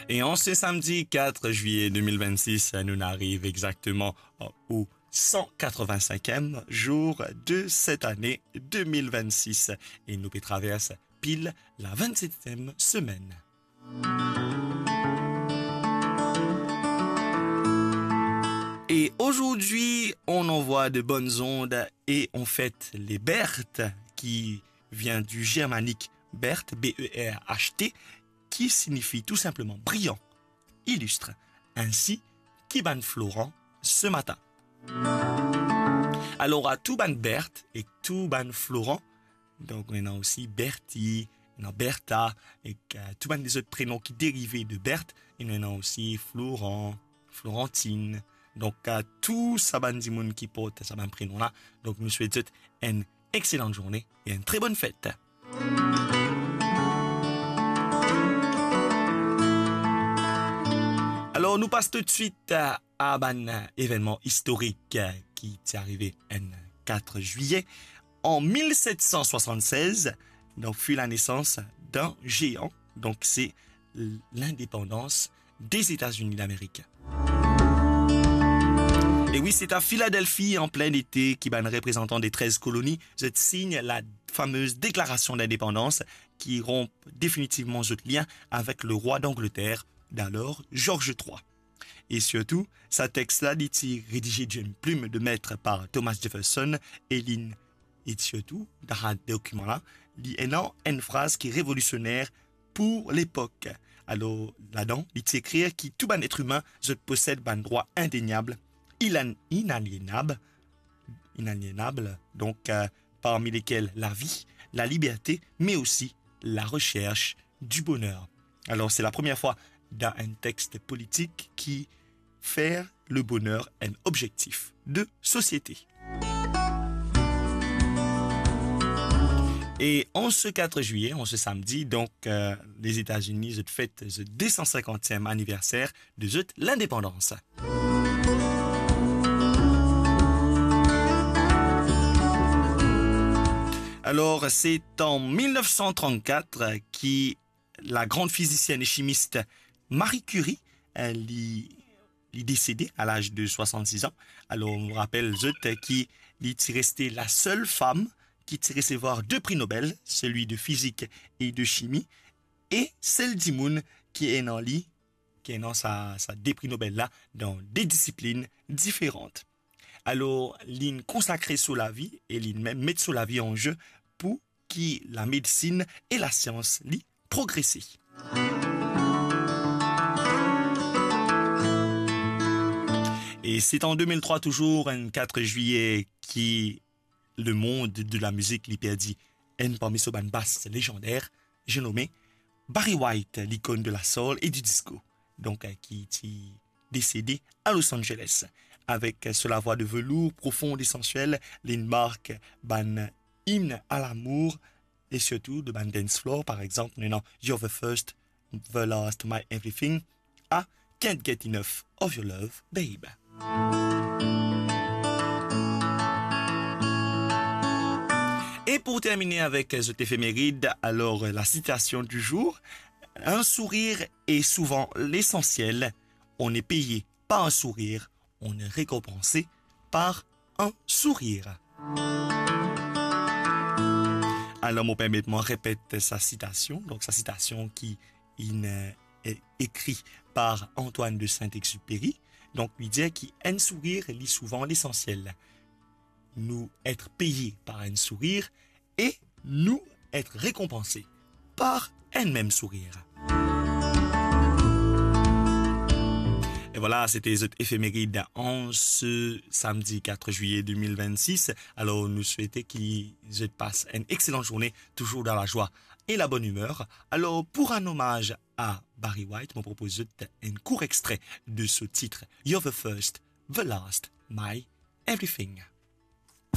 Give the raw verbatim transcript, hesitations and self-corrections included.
E an se samdi quatre juillet deux mille vingt-six, nou ariv exakteman o san katrevin-sinkiem zour de set ane deux mille vingt-six e nou pe travers pil la vingt-septième semaine. Et aujourd'hui, on envoie de bonnes ondes et on fête les Berthe, qui vient du germanique Berth, B E R H T, qui signifie tout simplement brillant, illustre. Ainsi, ki bann Florent ce matin. Alors, à tout bann Berthe et tout bann Florent, donk, nou ena osi Berthe, nou ena Bertha, ek, euh, tou bann lezot prenon ki derive de Berthe, e nou ena osi Florent, Florentine. Donk, euh, tou sa bann dimoun ki port sa bann prenon la, donk, nou swet zot enn exselan zourne e enn tre bonn fet. Alor, nou pas toutswit, euh, a bann evennman istorik, euh, ki ti arive enn quatre juillet. En mil set san swasann-sez, donk, fut la naissance d'un géant, donk se l-, lindepandans des États-Unis d'Amérique. E wi, se a Philadelphie, an plin ete, ki bann reprezantan de trez koloni, zot sign la famez deklarasion dindepandans ki ronp definitivman zot lien avek lerwa d'Angleterre, dalor George trois. E sirtou, sa text la, li ti redize d'une plume de maître par Thomas Jefferson, e li, e sirtou, dan sa dokiman la, li ena enn fraz ki revolisioner pou lepok. Alor, ladan, li ti ekrir ki tou bann et imin, zot posed bann drwa indeniab, ilan-, inalienab, inalienab, donk, euh, parmi lesquels la vie, la liberté, mais aussi la recherche du bonheur. Alors, c'est la première fois dans un texte politique qui fait le bonheur un objectif de société. Et en ce quatre juillet, en ce samedi, donc, euh, les États-Unis, zot fet zot deux cent cinquantième anniversaire de zot lindepandans. Alors, c'est en mille neuf cent trente-quatre que la grande physicienne et chimiste Marie Curie, euh, li, li desede a laz de swasann-sis an. Alor, nou rapel zot ki li ti reste la sel fam ki ti resevwar de pri Nobel, celui de physique et de chimie, e sel dimoun ki ena li, ki ena sa, sa de pri Nobel la dan de disiplinn diferan. Alor, li'nn konsakre so lavi e li'nn mem met so lavi an ze pou ki lamedsin e lasians li progrese. E se an deux mille trois, touzour enn quatre juillet, ki lemond de la mizik li perdi enn parmi so bann bas lezander, je nome Barry White, likonn de la soul e di disco, donk, euh, ki ti desede a Los Angeles. Avek, euh, so lavwa de velour profon e esansiel, li'nn mark bann imn a lamour e sirtou de bann dance floor, par exanp, nou ena You're the First, The Last, My Everything, a Can't Get Enough of Your Love, Babe. E pou termine avek zot efemerid, alor, la citation du jour, un sourire est souvent l'essentiel, on est payé par un sourire, on est récompensé par un sourire. Alor, mo permet mwa repet sa sitasion. Donk, sa sitasion ki inn, euh, ekri par Antoine de Saint-Exupéry. Donk, li dir ki enn sourir li souvan lesansiel. Nous être payés par un sourire et nous être récompensés par un même sourire. E vwala, se te zot efemerid an se samdi quatre juillet deux mille vingt-six. Alor, nou swete ki zot pas enn exselan zourne, touzour dan lazwa e labonn imer. Alor, pou rann omaz a Barry White, mo propoz zot enn kour extre de so tit You're the First, the Last, My Everything.